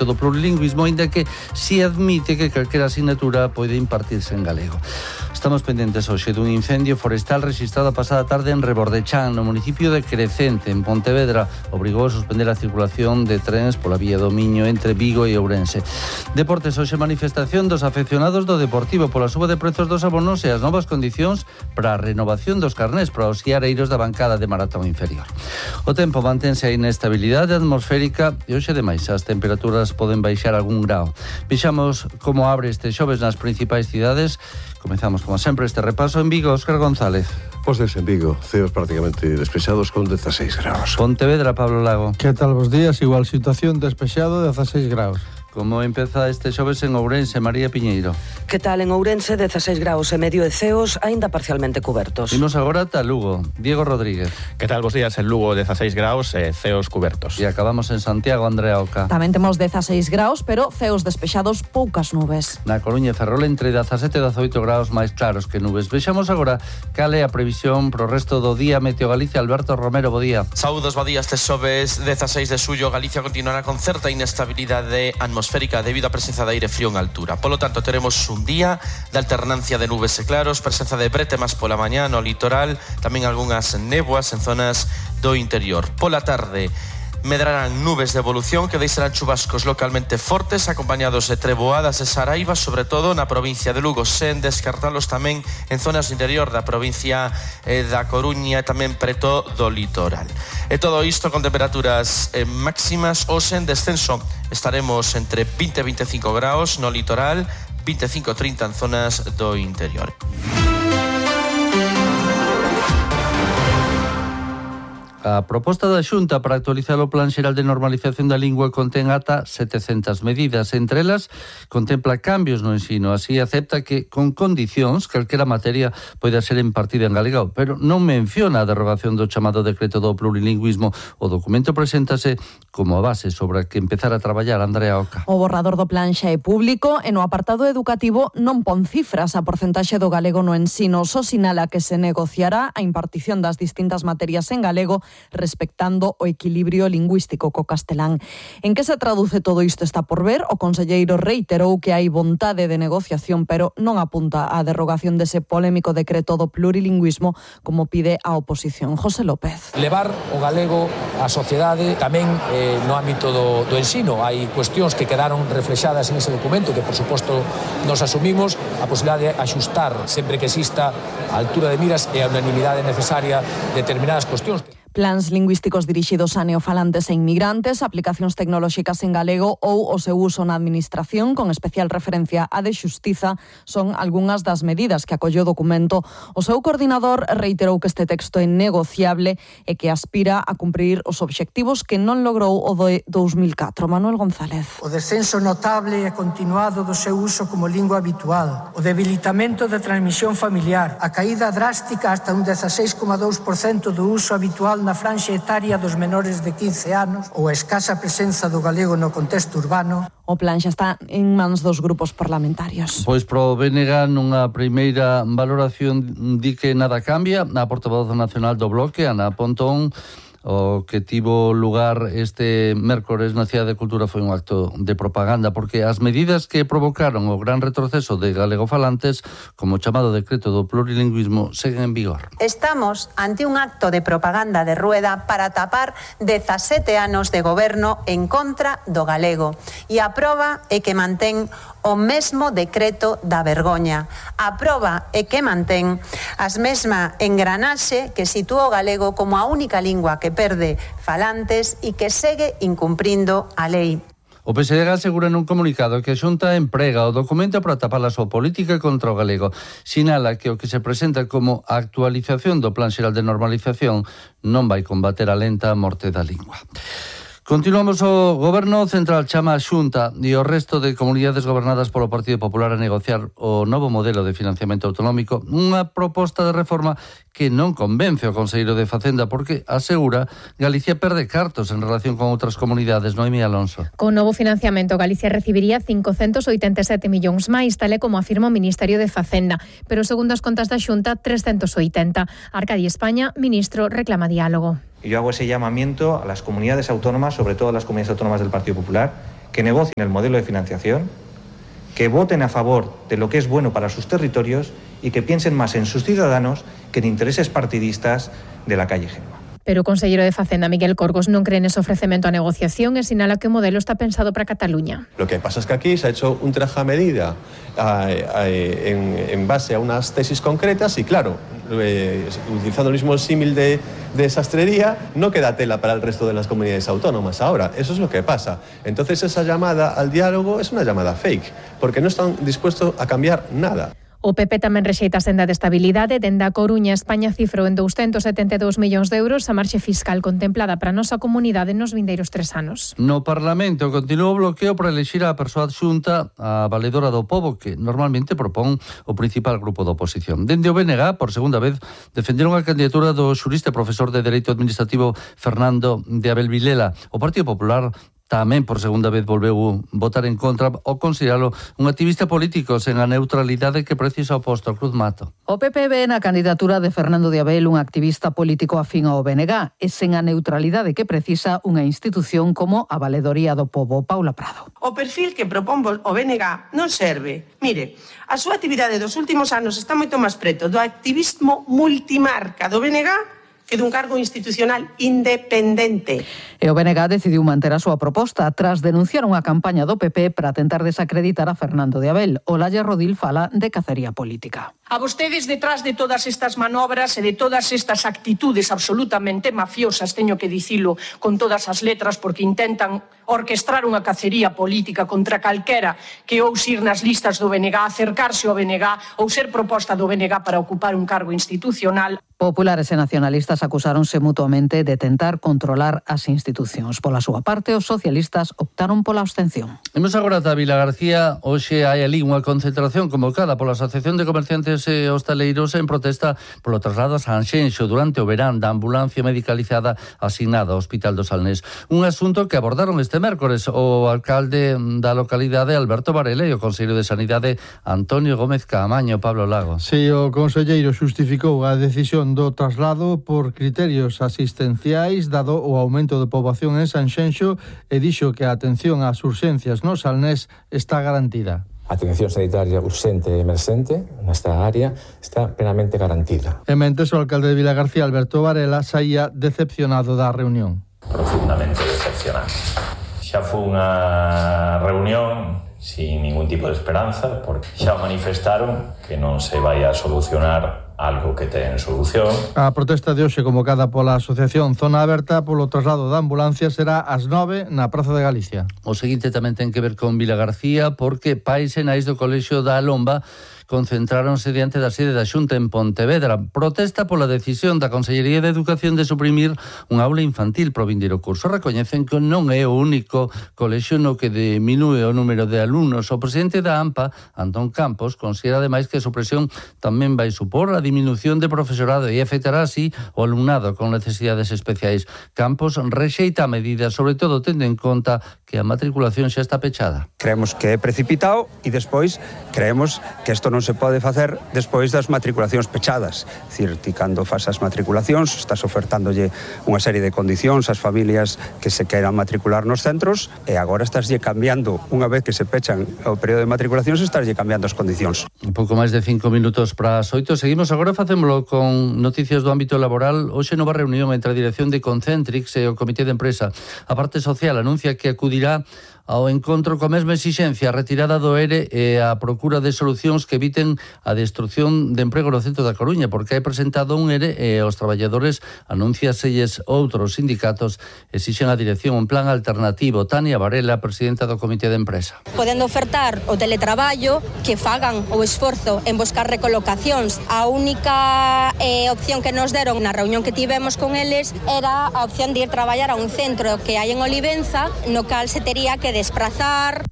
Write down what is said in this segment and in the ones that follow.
do plurilingüismo, ainda que si admite que calquera asignatura pode impartirse en galego. Estamos pendentes hoxe dun incendio forestal rexistrado a pasada tarde en Rebordechán, no municipio de Crecente, en Pontevedra. Obrigou a suspender a circulación de trens pola vía do Miño entre Vigo e Ourense. Deportes, hoxe manifestación dos afeccionados do Deportivo pola suba de prezos dos abonos e as novas condicións para a renovación dos carnés para os guiareiros da bancada de maratón inferior. O tempo mantense a inestabilidade atmosférica e hoxe demais as temperaturas poden baixar algún grao. Vexamos como abre este xoves nas principais cidades. Comezamos, como sempre, este repaso en Vigo. Óscar González. Pues desde Vigo, ceos prácticamente despexados con 16 graus. Pontevedra, Pablo Lago. Que tal vos días? Igual situación, despexado, 16 graus. Como empeza este xoves en Ourense, María Piñeiro? Que tal en Ourense, 16 graus e medio e ceos aínda parcialmente cubertos. Imos agora ata Lugo. Diego Rodríguez. Que tal vos días en Lugo, 16 graus e ceos cubertos. E acabamos en Santiago, Andrea Oca. Tamén temos 16 graus, pero ceos despexados, poucas nubes. Na Coruña e Ferrol entre 17 e 18 graus máis claros que nubes. Vexamos agora cal é a previsión pro resto do día. Meteo Galicia, Alberto Romero, bo día. Saúdos, bo día, este xoves 16 de xullo. Galicia continuará con certa inestabilidade atmosférica debido á presenza de aire frío en altura. Polo tanto, teremos un día de alternancia de nubes e claros, presenza de bretemas pola mañá no litoral, tamén algunhas néboas en zonas do interior. Pola tarde, medrarán nubes de evolución que deixarán chubascos localmente fortes, acompañados de treboadas e saraivas, sobre todo na provincia de Lugo, sen descartalos tamén en zonas do interior da provincia da Coruña e tamén preto do litoral. E todo isto con temperaturas máximas ou sen descenso. Estaremos entre 20 e 25 graus no litoral, 25 e 30 en zonas do interior. A proposta da Xunta para actualizar o Plan Xeral de Normalización da Lingua contén ata 700 medidas. Entre elas, contempla cambios no ensino. Así, acepta que, con condicións, calquera materia poida ser impartida en galego, pero non menciona a derogación do chamado decreto do plurilingüismo. O documento preséntase como a base sobre a que empezar a traballar, Andrea Oca. O borrador do plan xa é público e no apartado educativo non pon cifras a porcentaxe do galego no ensino. Só sinala que se negociará a impartición das distintas materias en galego respectando o equilibrio lingüístico co castelán. En que se traduce todo isto está por ver. O conselleiro reiterou que hai vontade de negociación, pero non apunta á derrogación dese polémico decreto do plurilingüismo como pide a oposición. José López. Levar o galego á sociedade tamén no ámbito do ensino. Hai cuestións que quedaron reflexadas en ese documento que, por suposto, nos asumimos a posibilidade de axustar sempre que exista a altura de miras e a unanimidade necesaria determinadas cuestións. Plans lingüísticos dirixidos a neofalantes e inmigrantes, aplicacións tecnolóxicas en galego ou o seu uso na administración, con especial referencia á de xustiza, son algunhas das medidas que acolleu o documento. O seu coordinador reiterou que este texto é negociable e que aspira a cumprir os obxectivos que non logrou o de 2004. Manuel González. O descenso notable e continuado do seu uso como lingua habitual, o debilitamento da transmisión familiar, a caída drástica hasta un 16,2% do uso habitual na franxa etaria dos menores de 15 anos ou a escasa presenza do galego no contexto urbano. O plan xa está en mans dos grupos parlamentarios. Pois pro BNG nunha primeira valoración di que nada cambia. A portavoz nacional do Bloque, Ana Pontón, o que tivo lugar este mércores na Cidade de Cultura foi un acto de propaganda, porque as medidas que provocaron o gran retroceso de galegofalantes, como o chamado decreto do plurilingüismo, seguen en vigor. Estamos ante un acto de propaganda de rueda para tapar 17 anos de goberno en contra do galego. E a proba é que mantén o mesmo decreto da vergoña. A proba é que mantén as mesma engranaxe que sitúa o galego como a única lingua que perde falantes e que segue incumprindo a lei. O PSDG asegura nun comunicado que a Xunta emprega o documento para tapar a súa política contra o galego. Sinala que o que se presenta como actualización do Plan Xeral de Normalización non vai combater a lenta morte da lingua. Continuamos. O Goberno Central chama a Xunta e o resto de comunidades gobernadas polo Partido Popular a negociar o novo modelo de financiamento autonómico, unha proposta de reforma que non convence o conselleiro de Facenda porque, asegura, Galicia perde cartos en relación con outras comunidades. Noemí Alonso. Con novo financiamento, Galicia recibiría 587 millóns máis, tal e como afirma o Ministerio de Facenda, pero segundo as contas da Xunta, 380. Arcadi España, ministro, reclama diálogo. Y yo hago ese llamamiento a las comunidades autónomas, sobre todo a las comunidades autónomas del Partido Popular, que negocien el modelo de financiación, que voten a favor de lo que es bueno para sus territorios y que piensen más en sus ciudadanos que en intereses partidistas de la calle Génova. Pero o conselleiro de Facenda, Miguel Corgos, non cree nese ofrecemento a negociación e sinala que o modelo está pensado para Cataluña. Lo que pasa es que aquí se ha hecho un traje a medida en base a unas tesis concretas y claro, utilizando el mismo símil de sastrería, no queda tela para el resto de las comunidades autónomas ahora. Eso es lo que pasa. Entonces esa llamada al diálogo es una llamada fake, porque no están dispuestos a cambiar nada. O PP tamén rexeita a senda de estabilidade. Dende a Coruña, España cifrou en 272 millóns de euros a marxe fiscal contemplada para a nosa comunidade nos vindeiros 3 anos. No Parlamento continúa o bloqueo para elexir a persoa adxunta a valedora do pobo, que normalmente propón o principal grupo da oposición. Dende o BNG, por segunda vez, defenderon a candidatura do xurista e profesor de Dereito Administrativo Fernando de Abel Vilela. O Partido Popular tamén por segunda vez volveu votar en contra ao consideralo un activista político sen a neutralidade que precisa o posto ao Cruz Mato. O PP ve na candidatura de Fernando de Abel un activista político afín ao BNG e sen a neutralidade que precisa unha institución como a Valedoría do Pobo. Paula Prado. O perfil que propón o BNG non serve. Mire, a súa actividade dos últimos anos está moito máis preto do activismo multimarca do BNG que dun cargo institucional independente. E o BNG decidiu manter a súa proposta tras denunciar unha campaña do PP para tentar desacreditar a Fernando de Abel. Olalla Rodil fala de cacería política. A vostedes, detrás de todas estas manobras e de todas estas actitudes absolutamente mafiosas, teño que dicilo con todas as letras, porque intentan orquestrar unha cacería política contra calquera que ouse ir nas listas do BNG, acercarse ao BNG ou ser proposta do BNG para ocupar un cargo institucional. Populares e nacionalistas acusáronse mutuamente de tentar controlar as institucións. Pola súa parte, os socialistas optaron pola abstención. Imos agora ata Vila García. Hoxe hai ali unha concentración convocada pola Asociación de Comerciantes e Hostaleiros en protesta polo traslado a Sanxenxo durante o verán da ambulancia medicalizada asignada ao Hospital do Salnés. Un asunto que abordaron este mércores o alcalde da localidade Alberto Varela e o conselleiro de Sanidade Antonio Gómez Caamaño. Pablo Lago. Si, o conselleiro xustificou a decisión do traslado por criterios asistenciais dado o aumento de poboación en Sanxenxo e dixo que a atención ás urxencias no Salnés está garantida. A atención sanitaria urxente e emerxente nesta área está plenamente garantida. E mentes o alcalde de Vilagarcía, Alberto Varela, saía decepcionado da reunión. Profundamente decepcionado. Xa foi unha reunión sin ningún tipo de esperanza, porque xa manifestaron que non se vai a solucionar algo que ten solución. A protesta de hoxe convocada pola Asociación Zona Aberta polo traslado da ambulancia será ás 9 na Praza de Galicia. O seguinte tamén ten que ver con Vilagarcía, porque pais e nais do Colexio da Lomba concentráronse diante da sede da Xunta en Pontevedra. Protesta pola decisión da Consellería de Educación de suprimir un aula infantil pro vindeiro curso. Recoñecen que non é o único colexio no que diminúe o número de alumnos. O presidente da AMPA, Antón Campos, considera ademais que a supresión tamén vai supor a disminución de profesorado e afectará así o alumnado con necesidades especiais. Campos rexeita a medida, sobre todo tendo en conta que a matriculación xa está pechada. Creemos que é precipitado e despois creemos que isto non se pode facer despois das matriculacións pechadas. É dicir, ti cando fas as matriculacións estás ofertándolle unha serie de condicións ás familias que se queiran matricular nos centros e agora estáslle cambiando, unha vez que se pechan o período de matriculacións, estáslle cambiando as condicións. Un pouco máis de 5 minutos para as 8. Seguimos agora, facémolo con noticias do ámbito laboral. Hoxe nova reunión entre a dirección de Concentrix e o Comité de Empresa. A parte social anuncia que acudirá ao encontro coa mesma exixencia, a retirada do ERE e a procura de solucións que eviten a destrucción de emprego no centro da Coruña, porque hai presentado un ERE e os traballadores anunciaselles outros sindicatos exixen a dirección un plan alternativo. Tania Varela, presidenta do Comité de Empresa. Podendo ofertar o teletraballo, que fagan o esforzo en buscar recolocacións. A única opción que nos deron na reunión que tivemos con eles era a opción de ir traballar a un centro que hai en Olivenza, no cal se tería que desplazar.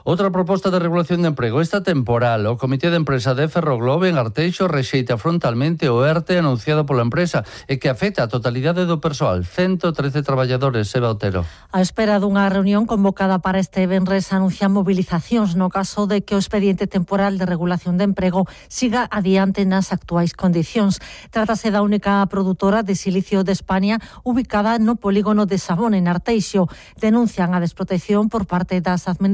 Outra proposta de regulación de emprego, esta temporal. O Comité de Empresa de Ferroglobe en Arteixo rexeita frontalmente o ERTE anunciado pola empresa e que afecta a totalidade do persoal, 113 traballadores, Seba Otero. A espera dunha reunión convocada para este venres anuncian movilizacións no caso de que o expediente temporal de regulación de emprego siga adiante nas actuais condicións. Trátase da única produtora de silicio de España ubicada no polígono de Sabón en Arteixo. Denuncian a desprotección por parte das administracións